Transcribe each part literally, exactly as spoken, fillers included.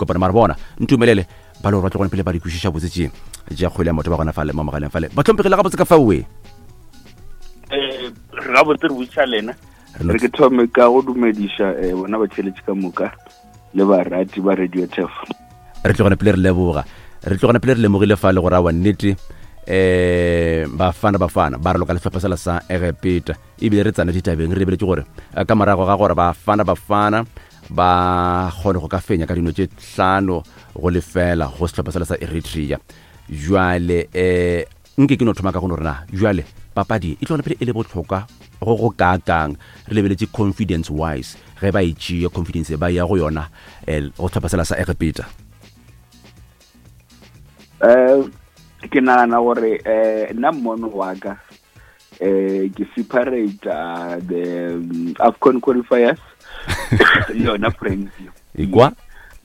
dikopana. Mara bona ntumelele ba le gore ba tlogone pele ba di kwešiša botse tše tša kgwele ya maoto ba gona fale mo mogaleng fale. Bahlomphegile gabotse ka faoe? Eh, re gabotse, re botša lena. Re no- Re ke thome ka go dumediša eh, bona batheletši ka moka le barati ba Radio Tef. Re tlogone pele re leboga, re tlogone pele re lemogile fa le gore awa nnete um Bafana Bafana ba re loka le sehlopha sela sa Egepeta, ebile re tsena ditabeng re lebeletse gore eh, ka morago ga gore Bafana Bafana ba kgone go ka fenya ka dino tše hlano go lefela go sehlopha sela sa Eritrea. Jwale um nke ke no thoma ka go no rena jwale papadi e tlogone pele e le bohlokwa go go kaakang, re lebeletse confidence wise ge ba e tšea confidence ba ya go yona um go sehlopha sela sa Egepeta? um ke nagana gore um nna mmono wa ka um ke separate uh, the um, AFCON qualifiers le yona friendly. Ekwa.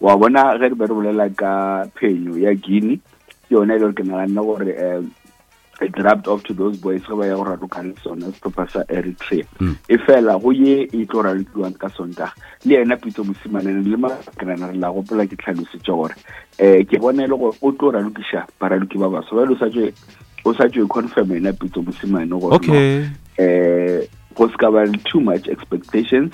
Wa bona ge re be re bolela ka phenyo ya Guinea, ke yona e le gore ke naganne gore um it rubbed off to those boys ge ba ya go raloka le sona sehlopha sa Eritrea. Mm. E fela go ye e tlo ralokiwang ka Sontaga le yena Pitso Mosimane le makenana, re la gopola ke tlhalositše gore um ke bona e le gore o tlo ralokiša baraloki ba baso bjale o sa tswe o sa tswe confirm yena Pitso Mosimane gore no, okay eh go se ka ba le too much expectations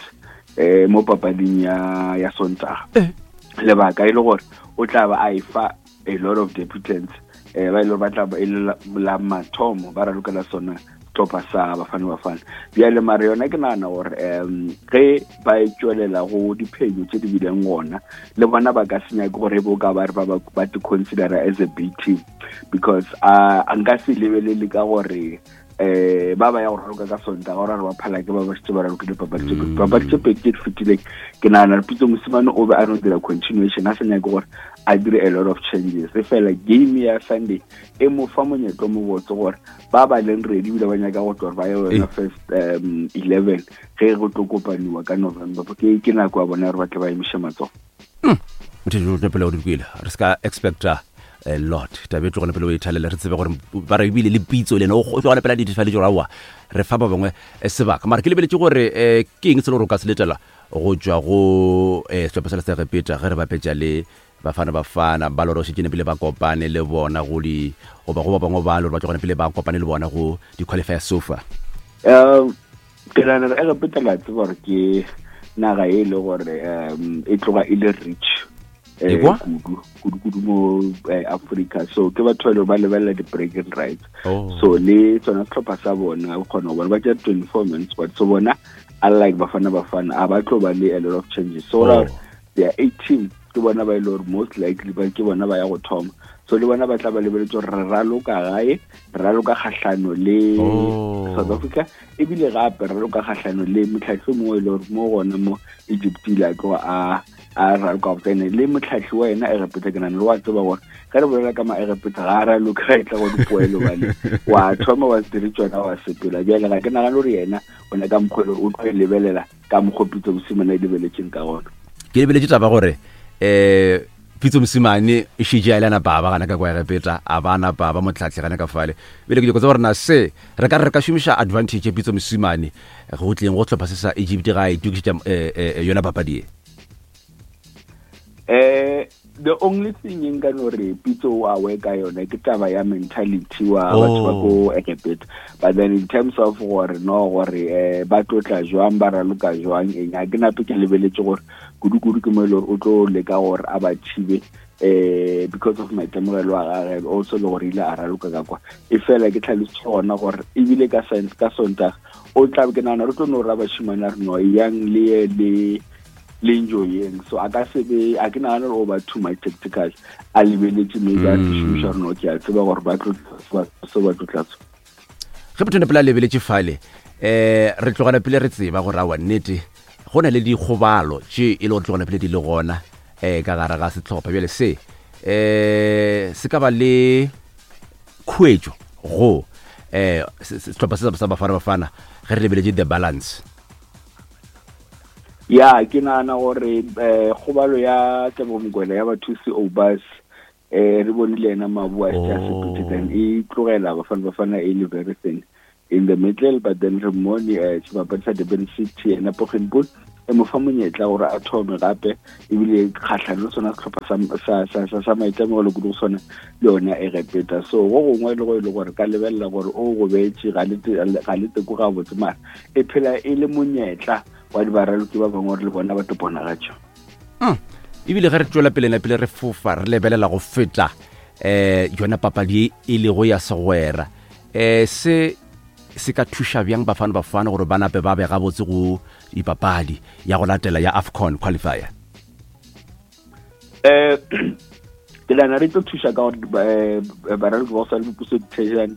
eh mo papading ya ya Sontaga. Eh. Lebaka e le gore o tla ba a e fa a lot of debutants eh ba ile ba tla ba e le la- la mathomo ba ralokela sona sehlopha sa Bafana Bafana. Bjale mare yona ke nagana gore um ge ba e tswelela go diphenyo tse di bileng gona le bona, ba ka se nyake gore bo ka ba re ba ba ba te considera as a B team, because uh, nka se lebelele ka gore eh ba ba ya go raloka ka Sontaga gore re ba phala ke ba ba šetse ba ralokile papadi tse pedi. Papadi tse pedi tse di fetileng, ke nagana re Pitso Mosimane o be a no dira continuation, a sa nyake gore a dire a lot of changes. E fela game ya Sunday e mo fa monyetla o mo botse gore ba ba leng ready ebile ba nyaka go tlo gore ba ye yona Eh. first um eleven ge go tlo kopaniwa ka November, ke ke nako ya bona gore ba tle ba emiše matsogo. Motho pele o di kwele, re se ka expecta a lot. Tabe e tlogone pele o e thalele, re tsebe gore ba re ebile le Pitso le ena o tlogone pele a di gore aowa re fa ba bangwe eh, sebaka. Mara ke lebeletse gore um ke eng se le gore o ka se letela go tswa go um sehlopha sela sa Egepeta ge re bapetša le Bafana Bafana ba le gore o šetše pele ba kopane le bona go di goba go ba bangwe ba le gore ba tlogone pele ba kopane le bona go di-qualifier sofa? um ke nagana gore Egepeta, la tseba gore ke naga e le gore um e tloga e le rich eh, Ekwa? kudu kudu kudu mo eh, Africa. So ke batho ba e le gore ba lebelela di-bragging rights. Oh. So le tsona sehlopha sa bona o kgona go bona ba tšea twenty-four man squad, so bona unlike Bafana Bafana a ba tlo ba le a lot of changes. So Oh. oh. their eight team ke bona ba e le gore most likely ba ke bona ba ya go thoma. So le bona ba tla ba lebeletse gore re raloka gae, re raloka kgahlano le Oh. South Africa, ebile gape re raloka kgahlano le motlhatlhi o mongwe e le gore mo gona mo Egypt ile a tloga a a raloka go tsene le motlhatlhi wa ena Egepeta. Ke nane le wa tseba gore ge re bolela ka maegepeta ga a raloka ga e tla go dipoelo bale wa thoma wa se dire tsona wa sepela. Bjale ga ke nagane gore yena o ne ka mokgwa e le gore o tlo e lebelela ka mokgwa Pitso Mosimane a e lebeletseng ka gona. Ke lebeletse taba gore um Pitso Mosimane e šetše a ile a napa a ba gana ka kwa Egepeta, a ba napa ba motlhatlhi gana ka fale. Ebile ke nyako tseba gore na se re ka re re ka šomiša advantage ya Pitso Mosimane go tleng go sehlopha se sa Egypt ga a itokišetša eh, eh, yona papadi e? eh the only thing e nka no re Pitso o awe ka yone ke taba ya mentality wa batho ba ko Egepeta. But then in terms of gore no gore eh ba tlo tla jwang, ba raloka jwang, eng, a ke nape ke lebeletse gore kudu-kudu ke mo e le gore o tlo leka gore a ba thibe eh because of maitemogelo a gage, also le gore ile a raloka ka kwa. E fela ke tlhalositse gona gore ebile ka science ka Sontaga o tla ke nagana re tlo no ra bashimane a re no yang le ye le le enjoyeng. So a ka se be, a ke nagane gore o ba too much tactical a lebeletse maybe a se šomiša gore no ke a tseba gore ba tlo se ba tlo tlatso. Ge motho pele a lebeletše fale um re tlogela pele re tseba gore awa nnete go na le dikgobalo tše e le gore tlogela pele di le gona um ka gare ga setlhopha. Bjale se um se ka ba le khuetšo go um setlhopha se sa Bafana Bafana ge re lebeletše the balance? Ya, ke nagana gore um kgobalo ya Tebogo Mokoena, ya bathusi Obas, eh re bone le ena mabu a se a sepetse, then e tlogela Bafana Bafana e le very thin in the middle. But then re mmone eh sebapadi sa Durban City, ena Poggenpoel, E mo fa monyetla gore a thome gape, ebile kgatlhano le sona setlhopha sa, sa, sa, sa maitemogelo kudu go sona le yona Egepeta. So go gongwe le go e le gore ka lebelela gore o gobetše ga le teko gabotse, mara e phela e le monyetla wa dibaraloki ba bangwe gore le bona ba tlo bonagatša. Mm. Ebile ge re tswela pele na pele re fofa re lebelela go feta eh yona papadi e lego ya segwera, eh se se ka thuša bjang Bafana Bafana gore ba nape ba be gabotse go dipapadi ya go latela ya AFCON qualifier? Eh ke nahana re tlo thuša ka gore baraloki ba go swana le Puso Dithejane,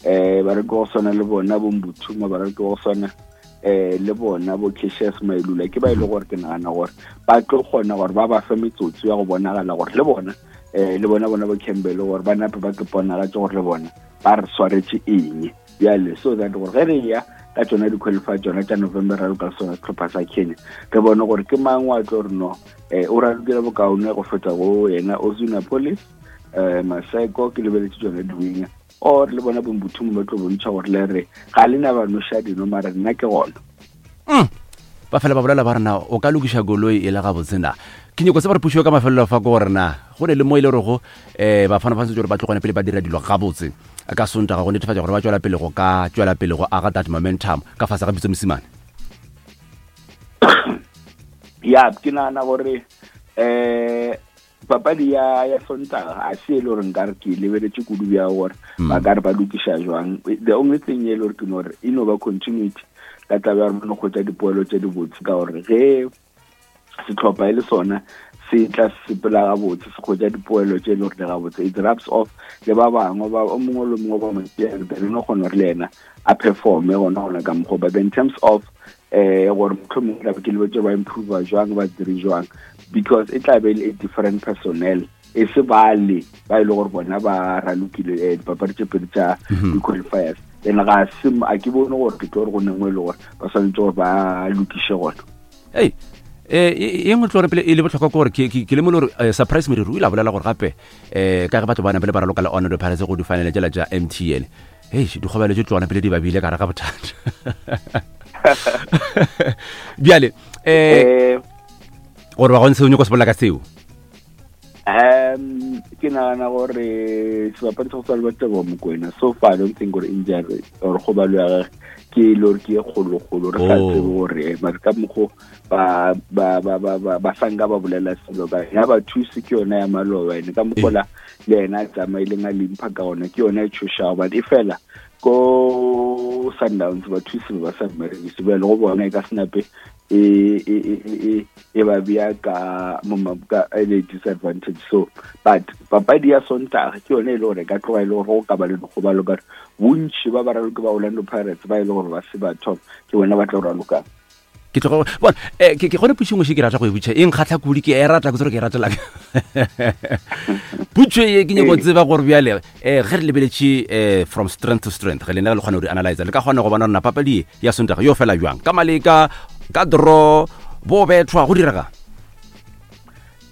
eh baraloki ba go swana le bona bo Mbuthuma, baraloki ba go swana eh le bona bo Cassius Mailula, ke ba e le gore ke nagana gore ba tlo kgona gore ba ba fe metsotso ya go bonagala gore le bona eh le bona bona bo Campbell gore ba nape ba ke ponagatše gore le bona ba re swaretše eng bjale, so that gore ge re ya ka tsona di-qualify tsona tša November raloka le sona setlhopha sa Kenya, re bone gore ke mang wa tlo re no eh o ralokile bokaone go feta go yena Ozuna Police, eh Maseko, ke lebeletse tsone di-winger, or le bona bombuthumo ba tlo bontšha gore le re ga le na ba noša dino, mara nna ke gona. Mm. Ba fela ba bolela ba rena o ka lokiša koloi e le gabotse na. Ke nyako tseba re pušo ka mafelelo fa ke gore na go ne le mo e le gorego um bafana ba santse gore ba tlogone pele ba dira dilo gabotse ka Sontaga go netefatša gore ba tswela pele go ka tswela pele go aga that momentum ka fase ga Pitso Mosimane. Ya, ke nagana gore eh papadi ya ya Sontaga a se e le gore nkare ke lebeletse kudu bja gore ba ka re ba lokiša jwang. The only thing e le gore ke no gore e no ba continuity ka taba ya gore ba no kgwetsa dipoelo tse di botse, ka gore ge setlhopha e le sona se tla sepela gabotse se kgwetsa dipoelo tse e le gore di gabotse, it rubs off le ba bangwe ba o mongwe le mongwe ba mo tšea, then o kgona gore le yena a performe gona gona ka mokgwa. But in terms of eh gore mohlomongwe tla be ke lebetse ba improve jwang ba dire jwang, because e tla be e le a different personnel, e se bale ba e le gore bona ba ralokile eh, dipapadi tše pedi tša di-qualifiers, then ga se a ke bone gore ke tlo gore go nengwe e le gore ba swanetše gore ba lokiše gona. Ei eh e nngwe tlo re pele e le botlhokwa ke gore ke ke- ke lemole gore eh, Surprise Moriri o ile a bolela gore gape eh ka ge batho ba napele ba raloka le Orlando Pirates go di-final tšela tša M T N, hei dikgobelo tše tlogana pele di babile ka gare ga bothata. Bjale eh eh gore ba gontshe o nyako se bolela ka seo? Um ke nagana gore sebapadi sa go tshwana le Teboho Mokoena, so far I don't think gore injury or kgobalo ya gagwe ke e le gore ke e kgolokgolo, re sa Oh. tsebe gore mare ka mokgo ba ba ba ba ba ba sanka ba bolela selo ka ya ba thuse ke yona ya maloba, ene ka mokgo la le yena a tsamaileng a limpha ka ona ke yona e tšhošago, but e fela ko Sundowns ba thuse ba sa mmerekise, bjale go bona e ka senape e e e e e ba bea ka mo ma- ka e le disadvantage. So but papadi ya Sontaga ke yone e le gore e ka tloga e le gore go ka ba le dikgobalo, ka gore bontši ba baraloki ba Orlando Pirates ba e le gore ba se ba thoma ke bona ba tlo ralokang. Ke tloga bona eh ke ke gone pušo nngwe še ke rata go e botša, e nkgatlha kudu, ke e rata, ke tsore ke e ratela. Putšo ye ke nyako tseba gore bjale eh ge re lebeletše eh from strength to strength, ge lena le kgona go di analyzer, le ka kgona go bona gore na papadi ye ya Sontaga yo fela jwang, ka maleka, ka draw, bo bethwa, go direga?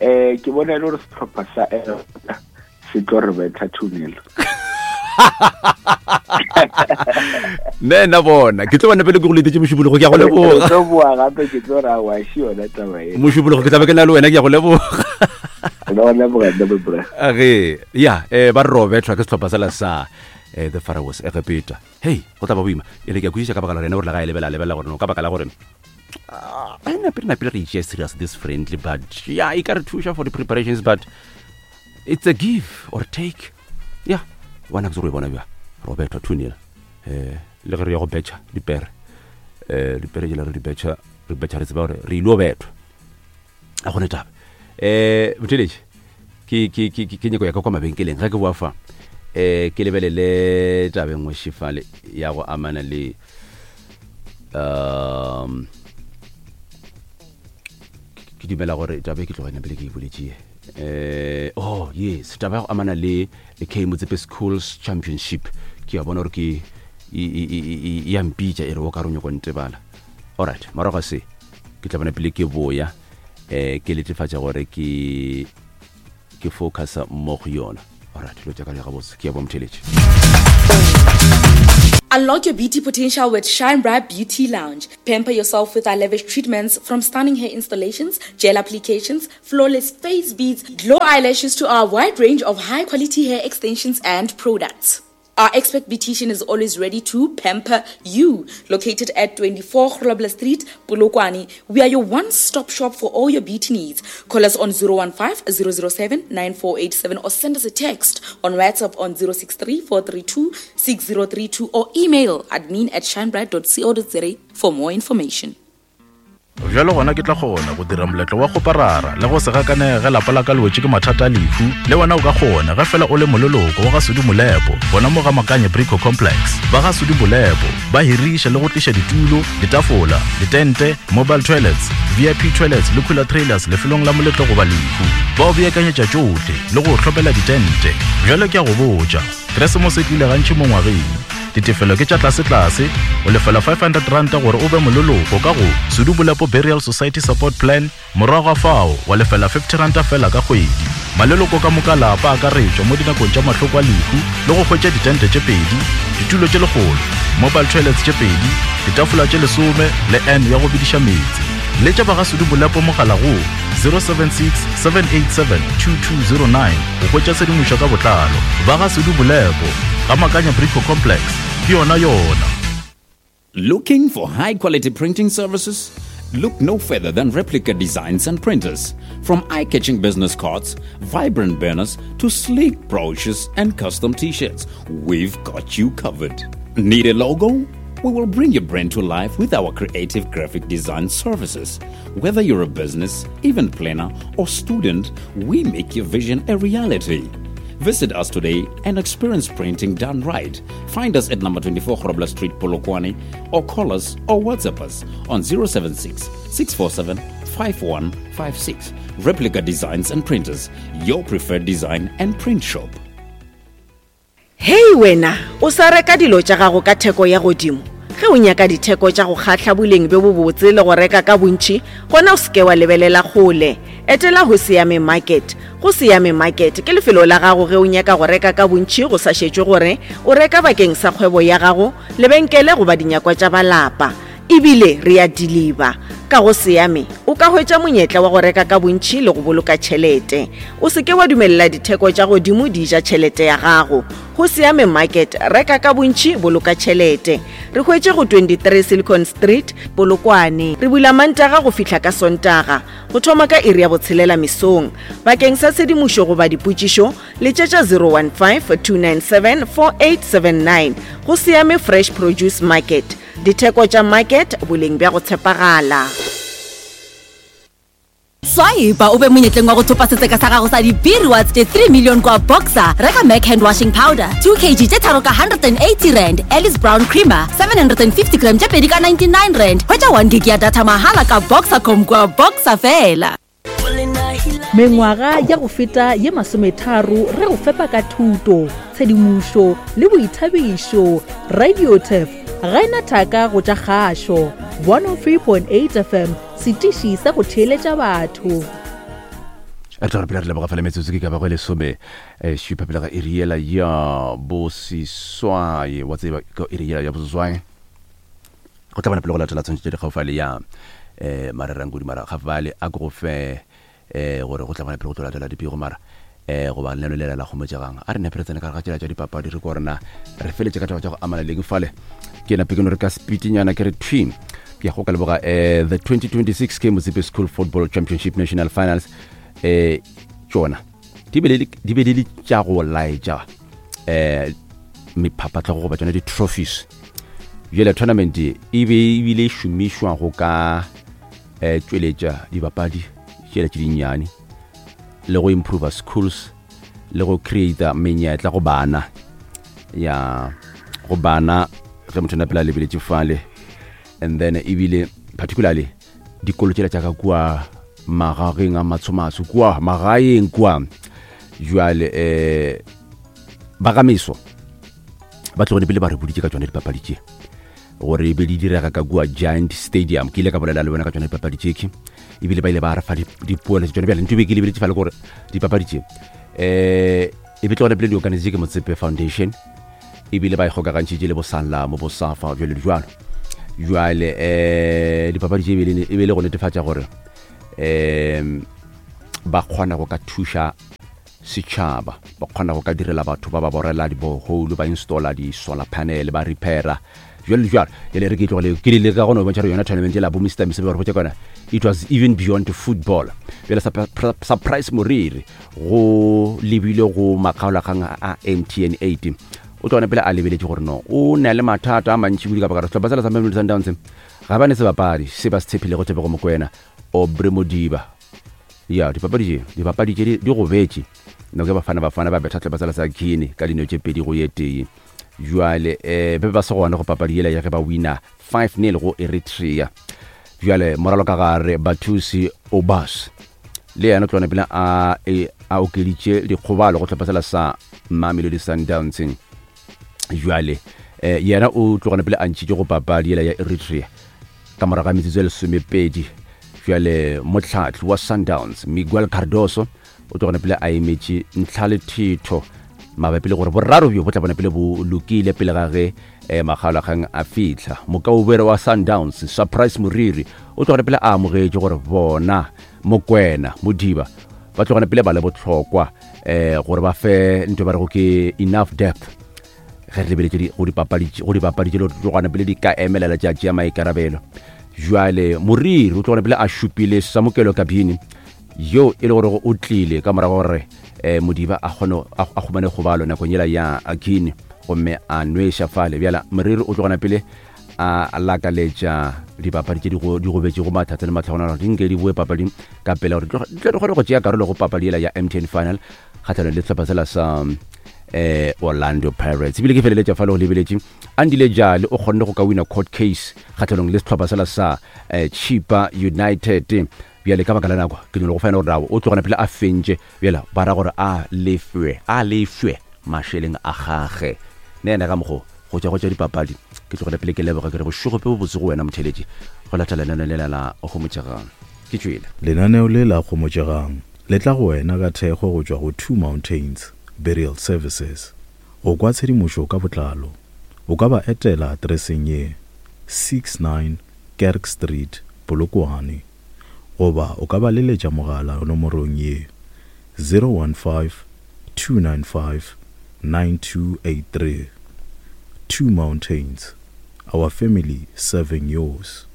Eh ke bona e le gore setlhopha sa Egepeta se tlo re betha two nil. Ne nna bona ke tlo bona pele ke go letetše mošupologo, ke a go leboga. Re tlo boa gape, ke tlo ra wa še yona taba e. Mošupologo ke tla be ke na le wena, ke a go leboga. Re go leboga, Double Bra. Age, ya, eh ba re ro bethwa ke setlhopha sela sa eh the Pharaohs Egepeta. Hei, go tla ba boima. E le ke a kwešiša ka baka la rena gore le ga e lebela, lebela gore no ka baka la gore ah, a napele napele re itšea serious this friendly, but yeah, e ka re thuša for the preparations, but it's a give or take. Yeah, bona ke tsore o e bona bjang, ro bethwa two nil. Eh, le ge re ya go betšha dipere, eh dipere jela re di betšha, re betšha re tseba gore re ile go bethwa. A gone taba. Eh, botheletše, ke, ke, ke, ke, ke nyako ya ka kwa mabenkeleng ge ke boa fa, eh ke lebelele taba e nngwe šefale ya go amana le, um, ke dumela gore taba e ke tloga pele ke e boletše. Eh, oh yes, taba ya go amana le K Motsepe Schools Championship, ke a bona gore ke e, e, e, e, e ya mpitša e re o ka re o nyako ntebala. Alright, morago ga se ke tla bona pele ke boya, eh ke letefatša gore ke, ke focusa mo go yona. Alright, dilo tša ka di gabotse, ke ya bo motheletše. Unlock your beauty potential with Shine Bright Beauty Lounge. Pamper yourself with our lavish treatments from stunning hair installations, gel applications, flawless face beads, glow eyelashes to our wide range of high quality hair extensions and products. Our expert beautician is always ready to pamper you. Located at twenty-four Grobler Street, Polokwane, we are your one-stop shop for all your beauty needs. Call us on zero one five, zero zero seven, nine four eight seven or send us a text on WhatsApp on zero six three, four three two, six zero three two or email admin at shinebright dot co dot za for more information. Bjalo gona ke tla kgona go dira moletlo wa go parara le go se gakanege lapa la ka le wetše ke mathata a lehu. Le wena o ka kgona ge fela o le moleloko wa ga Sudi Molepo, bona mo ga Makanye Brico Complex. Ba ga Sudi Molepo ba hiriša le go tliša ditulo, ditafola, ditente, mobile toilets, V I P toilets le cooler trailers lefelong la moletlo goba lehu. Ba o beakanyetša tšohle le go hlopela ditente. Bjalo ke a go botša, Keresemose e tlile gantši mo ngwageng. Ditefelo ke tša tlase-tlase, o lefela five hundred rand gore o be moleloko ka go Sudi Molepo Burial Society Support Plan, morago ga fao wa lefela fifty rand fela ka kgwedi. Maleloko ka moka lapa a akaretšwa mo dinakong tša mahloko a lehu le go hwetša ditente tše pedi, ditulo tše lekgolo, mobile toilets tše pedi, ditafola tše lesome le N ya go bidiša meetse. Letša ba ga Sudi Molepo mogala go zero seven six, seven eight seven, two two zero nine go hwetša tshedimošo ka botlalo. Ba ga Sudi Molepo, ga Makanya Brico Complex, ke yona yona. Looking for high quality printing services? Look no further than Replica Designs and Printers. From eye-catching business cards, vibrant banners, to sleek brochures and custom t-shirts, we've got you covered. Need a logo? We will bring your brand to life with our creative graphic design services. Whether you're a business, event planner, or student, we make your vision a reality. Visit us today and experience printing done right. Find us at number twenty-four Grobler Street, Polokwane, or call us or WhatsApp us on zero seven six, six four seven, five one five six. Replica Designs and Printers, your preferred design and print shop. Hey wena, o sa reka dilo tša gago ka theko ya godimo. Ge o nyaka ditheko tša go kgahla boleng bjo bobotse le go reka ka bontši, gona o seke wa lebelela kgole. Etela go Siame Market. Go Siame Market ke lefelo la gago ge o nyaka go reka ka bontši go sa šetšwe gore o reka bakeng sa kgwebo ya gago, lebenkele goba dinyakwa tša balapa. Ebile re a deliver. Ka go Siame o ka hwetša monyetla wa go reka ka bontši le go boloka tšhelete. O seke wa dumelela ditheko tša godimo di ja tšhelete ya gago. Go Siame Market, reka ka bontši, boloka tšhelete. Re hwetše go twenty-three Silicon Street, Polokwane. Re bula Mantaga go fihla ka Sontaga, go thoma ka iri ya botshelela mesong. Bakeng sa tshedimošo goba dipotšišo, letšetša zero one five, two nine seven, four eight seven nine. Go Siame Fresh Produce Market. Ditheko tša market, boleng bja go tshepagala. Swipe o be monyetleng wa go thopa setseka sa gago sa di-B-rewards tše three million kwa Boxer. Reka Mac hand washing powder two kilograms tše tharo ka one hundred and eighty rand, Alice Brown creamer seven hundred and fifty gram tše pedi ka ninety-nine rand. Hwetša one gig ya data mahala ka Boxercom kwa Boxer fela. Mengwaga ya go feta ye masometharo re go fepa ka thuto, tshedimošo le boithabišo. Radio Turf ga ena thaka go tša kgašo. one oh three point eight F M, setiši sa go theeletša batho. Re tla re pele re leboga fela metsotso ke ka ba go lesome šupa pele ga iri yela ya boseswai. Wa tseba ka iri yela ya boseswai go tla bona pele go latela tshwantšho tše di gaufi ya um marerangodi mara gafale a ko go fe um gore go tla bona pele go tlo latela dipego mara um goba leno lela la kgomotšegang. A re nepe re tsene ka gare ga tsela tša dipapadi re ko rena re feletše ka taba tša go amana leng fale. Ke nape ke no re ka speedinyana ke re thwi ke ya go ka leboga um the twenty twenty-six K Motsepe School Football Championship National Finals um tšona di be di le tša go laetša um mephapatlhogo goba tšona di-trophies. Bjale tournament e be ebile e šomišwa go ka um tšweletša dibapadi tšela tše dinnyane le go improve schools le go create menyetla go bana ya go bana ge motho na pela lebeletše fale. And then ebile particularly dikolo tšela tša ka kua magageng a matshomatsho kua magaeng kua jwale um ba ga meso ba tlogone pele ba re boditše ka tšona dipapadi tše gore e be di direga ka kua Giant Stadium. Ke ile ka bolela le bona ka tšona dipapadi tše ebile ba ile ba re fa dipoelo tše tšona. Bjale ntho e be ke lebeletše fale gore dipapadi tše um e be tlogone pele di organizitše ke Motsepe Foundation Ebile ba ikgokagantšhitše le bosanlamo bosafa jalo le jalo. Jwale um dipapadi tše e be le go netefatša gore um ba kgona go ka thuša setšhaba, ba kgona go ka direla batho ba ba borela di-borehole, ba installa di-solar panel, ba repaira jalo le jalo. Jale re ke tlogele ke le ka gona go bontšha gore yona tournament ela bo Mister Mise ba re botša kona it was even beyond football. Bjale Surprise Moriri go lebile go makgaolakgang a M T N eight o tlogane pele a lebeletše gore no o na le mathata a mantši kudu ka baka sehlopha sela sa Mamelodi Sundowns ga ba ne sebapadi se ba se tshepilego Tebogo Mokoena Aubrey Modiba. Ya dipapadi tše dipapadi tše di gobetše nako ya Bafana Bafana ba betha sehlopha sela sa Guinea ka dino tše pedi go ye tee. Jwale eh be ba se gona go papadi yela ya ge ba wina five nil go Eritrea. Jwale moralo ka gare Bathusi Obas le yena tlone pele a a okeditše dikgobalo go hlopha sela sa Mamelodi Sundowns. Jwale eh yena o tlogane pele a ntšhitše go papadi yela ya Eritrea ka morago ga metsotso e lesomepedi. Jwale motlhatli wa Sundowns Miguel Cardoso o tlogane pele a emetše ntlha le thetho mabapi le gore boraro bjo bo tla bona pele bo lokile pele ga ge eh, makgaolakgang a fihla. Mokaubere wa Sundowns Surprise Moriri o tlogane pele a amogetše gore bona Mokoena Modiba ba tlogane pele ba le bohlokwa eh gore ba fe ntho ba rego ke enough depth ge re lebeletše go dipapadi go dipapadi tše le tlogane pele di ka emelela tša tšea maikarabelo. Jwale Moriri o tlogane pele a šupile Samokelo Kabini yo e le gore o tlile ka morago gore eh Modiba a kgone a humane kgobalo nakong yela ya Guinea gomme a nweša fale. Bjala Moriri o tlogana pele a lakaletša dipapadi tše di gobetšego mathata le matlhagonalo di nke di boe papading ka pele gore di tle di kgone go tšea karolo go papadi yela ya M T N final kgatlhanong le sehlopha sela sa eh Orlando Pirates. Ebile ke feleletša fale go lebeletše Andile Jali o kgonne go ka wina court case kgatlhanong le sehlopha sela sa eh, Chippa United. Bjale ka baka la nako ke nyolo go fana gore o tlogana pele a fentše bjale ba ra gore a lefwe a lefwe mašeleng a gage. Ne ena ka mokgo go tša go tša dipapadi ke tlogele pele ke leboga ke re bošego pe bobotse go wena motheletši go latela lenaneo lela la Gomotšegang. Ke tšwele. Lenaneo le la Gomotšegang le tla go wena ka thekgo go tšwa go Two Mountains Burial Services. Go kwa tshedimošo ka botlalo o ka ba etela atereseng ye six nine Kerk Street, Polokwane, goba o ka ba leletša mogala nomorong ye zero one five two nine five nine two eight three. Two Mountains, our family serving yours.